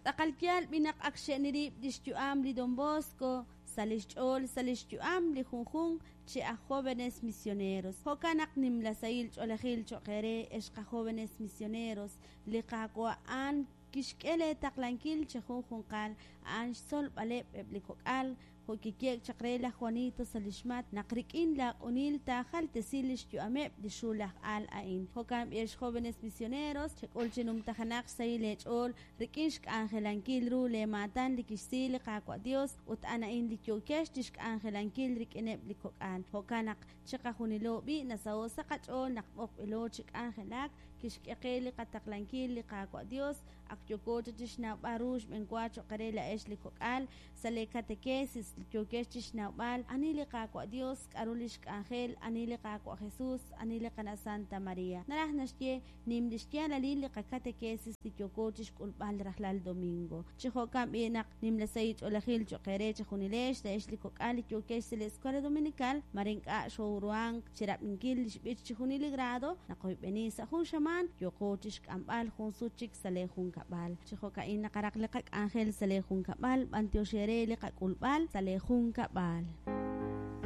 Tz'aqal yaal b'i naq ak xxe'ni rib' li xyu'am li Don Bosco sa' li xch'ool sa' li xyu'am li junjunq chi aj Jóvenes Misioneros. Jo'kan naq nimla sahil ch'oolejil cho'q eere ex qajóvenes misioneros, li Qaawa' a'an kixk'e leetaqlankil chejunjunqal a'an xtzolb'aleb' eb' li kok'al, jo' kiye'k chaq re laj Juanito sa' li xmat naq rik'in laaq'unil taajaltesi li xyu'ameb' li xul aj al a'in. Jo'kan b'i ex jóvenes misioneros, chek'ul chi numtajenaq xsahil eech'ool rik'in xk'anjelankil ru leemaatan li kixsi li Qaawa' Dios ut a'an a'in li yookex chi xk'anjelankil rik'ineb' li kok'al. Jo'kan naq chiqajunilo b'i' nasaho' sa' qach'ool naq b'oqb'ilo chi k'anjelak, kixk'e qe li qataqlankil li Qaawa' Dios, ak yooko chaq chi xnawb'al ru xb'enwa cho'q re laa'ex li kok'al sa' lee katekesis li yookex chi xnawb'al ani li Qaawa' Dios, k'aru li xk'anjel, ani li Qaawa' Jesus, ani li Qana' Santa Maria. Naraj naxye nim li xyaalalil li qakatekesis li yooko chi xk'ulb'al rajlal domingo. Chi jo'kan b'i' naq nimla sahil ch'oolejil cho'q eere chejunilex, laa'ex li kok'al li yookex sa' li Escuela Dominical, mare ink'a' xooruhank chi rab'inkil li xb'ich chijunil li grado, naqoyb'eni sa' jun xamaan yooqo chi xk'amb'al jun sut chik sa' lee junkab'al. Chi jo'ka'in naqaraq li qak'anjel sa' lee junkab'al, b'antiox eere li qak'ulb'al sa' lee junkab'al.